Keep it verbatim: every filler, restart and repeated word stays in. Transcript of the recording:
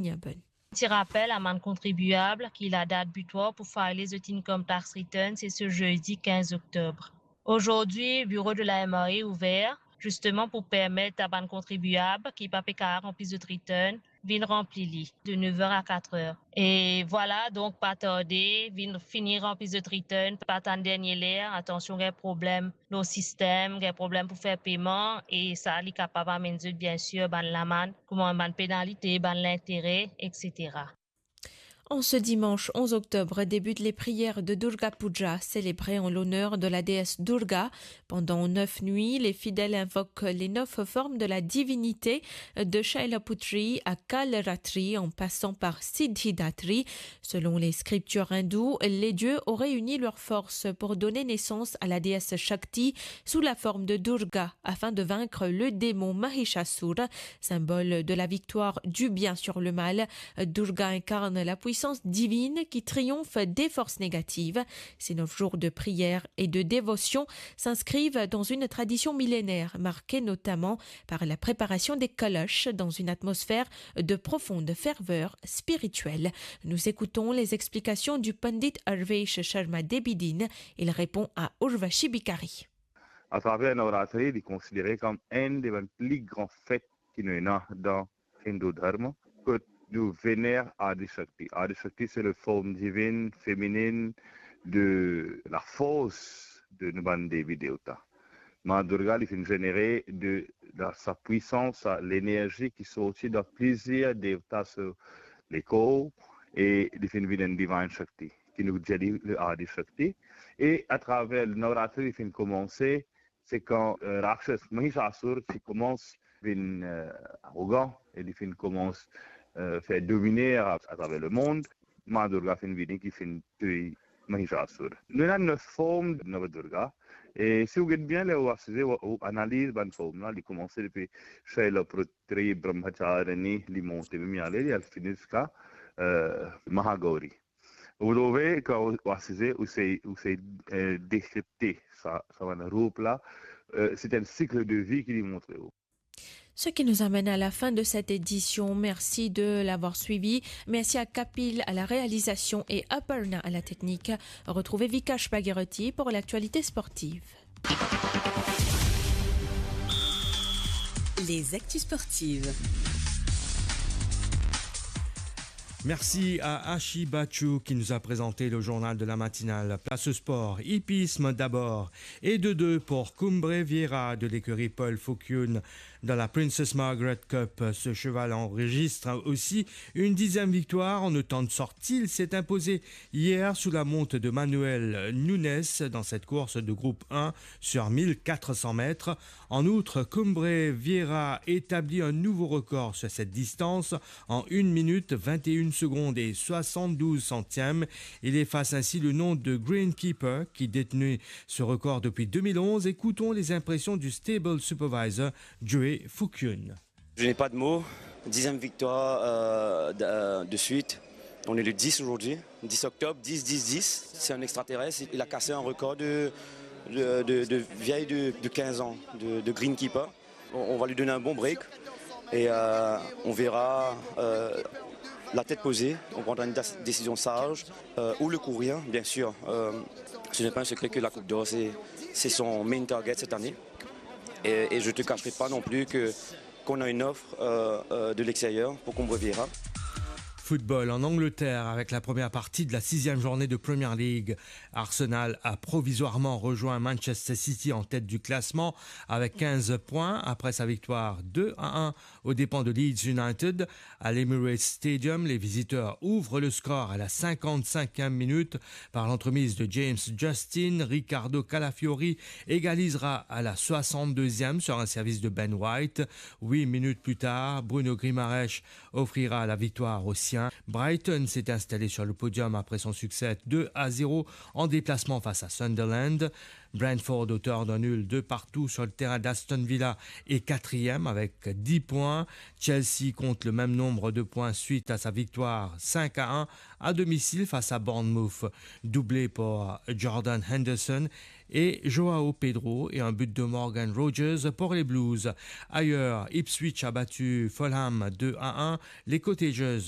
Niaben. Ti rapel a bann kontribiab ki ladat bitwar pou file zot income tax return se se zedi kinz oktob. Aujourd'hui, bureau de la M R E ouvert, justement pour permettre à bann kontribiab ki pa pe kapav ranpli zot return, vinn ranpli li de neuf heures à quatre heures. E vwala, donk pa tarde, vinn fini ranpli zot return, pa tann dernie ler, atansion, gagn problem lor sistem, gagn problem pou fer peyman, e sa, li kapav amenn zot, bien sûr, bann lamann, kouma bann penalite, bann lintere, et cetera. En ce dimanche onze octobre débutent les prières de Durga Puja, célébrées en l'honneur de la déesse Durga. Pendant neuf nuits, les fidèles invoquent les neuf formes de la divinité, de Shailaputri à Kalratri, en passant par Siddhidatri. Selon les scriptures hindoues, les dieux auraient uni leurs forces pour donner naissance à la déesse Shakti sous la forme de Durga, afin de vaincre le démon Mahishasur, symbole de la victoire du bien sur le mal. Durga incarne la puissance divine qui triomphe des forces négatives. Ces neuf jours de prière et de dévotion s'inscrivent dans une tradition millénaire, marquée notamment par la préparation des kalash dans une atmosphère de profonde ferveur spirituelle. Nous écoutons les explications du Pandit Arvesh Sharma Debidin. Il répond à Urvashi Bikari. Atraver Navratri, li konsidere kom enn de bann pli gran fet ki nou ena dan Hindu Dharma, kot nou vener Adi Shakti. Adi Shakti, se le form divin, feminin de lafors de nou bann devi devta. Ma Durga, li finn zenere de, de sa pwisans, sa lenerzi ki sorti dan plizier devta, so lekor, e li finn vinn enn Divine Shakti, ki nou dir li le Adi Shakti. E atraver Navratri, li finn koumanse, se kan, eh, Rakshas Mahishasur ti koumans vinn, eh, arogan e li finn koumans, eh, fer domine a, atraver lemond, Ma Durga finn vini ki finn touy Mahishasur. Nou ena nef form Nava Durga. E si ou get bien, ler ou asize, ou, ou analiz bann form la, li koumanse depi Shailaputri, Brahmacharini, li monte, mem li ale, li al fini ziska, eh, Mahagauri. Ou trouve, kan ou, ou asize, ou sey, ou sey, eh, dekripte sa, sa bann roup la, eh, se enn sik de vi ki li montre ou. Ce qui nous amène à la fin de cette édition. Merci de l'avoir suivi. Merci à Kapil à la réalisation et Aparna à la technique. Retrouvez Vikash Bhagirathi pour l'actualité sportive. Les actus sportives. Merci à Ashi Bachou qui nous a présenté le journal de la matinale. Place au sport. Hippisme d'abord. Et de deux pour Cumbre Vieira de l'écurie Paul Foucune dans la Princess Margaret Cup. Ce cheval enregistre aussi une dixième victoire en autant de sorties. Il s'est imposé hier sous la monte de Manuel Nunes dans cette course de groupe un sur mille quatre cents mètres. En outre, Cumbre Vieira établit un nouveau record sur cette distance en une minute vingt et une secondes et soixante-douze centièmes. Il efface ainsi le nom de Greenkeeper, qui détenait ce record depuis deux mille onze. Écoutons les impressions du stable supervisor Joey Foucune. Je n'ai pas de mots. Dixième victoire, euh, de, euh, de suite. On est le dix aujourd'hui, dix octobre, dix, dix, dix. C'est un extraterrestre. Il a cassé un record de, de, de, de vieille de, de quinze ans, de, de Greenkeeper. On, on va lui donner un bon break et, euh, on verra, euh, la tête posée. On prendra une dé-, décision sage, euh, ou le courir, bien sûr. Euh, ce n'est pas un secret que la Coupe d'Or, c'est, c'est son main target cette année. Et, et je te cacherai pas non plus que, qu'on a une offre, euh, euh, de l'extérieur pour Cumbre Vieira. Football en Angleterre avec la première partie de la sixième journée de Première Ligue. Arsenal a provisoirement rejoint Manchester City en tête du classement avec quinze points après sa victoire deux à un aux dépens de Leeds United. À l'Emirates Stadium, les visiteurs ouvrent le score à la cinquante-cinquième minute par l'entremise de James Justin. Ricardo Calafiori égalisera à la soixante-deuxième sur un service de Ben White. Huit minutes plus tard, Bruno Guimaraes offrira la victoire aux siens. Brighton s'est installé sur le podium après son succès deux à zéro en déplacement face à Sunderland. Brentford, auteur d'un nul de partout sur le terrain d'Aston Villa, est quatrième avec dix points. Chelsea compte le même nombre de points suite à sa victoire cinq à un à domicile face à Bournemouth. Doublé par Jordan Henderson, et Joao Pedro et un but de Morgan Rogers pour les Blues. Ailleurs, Ipswich a battu Fulham deux à un, les Cottagers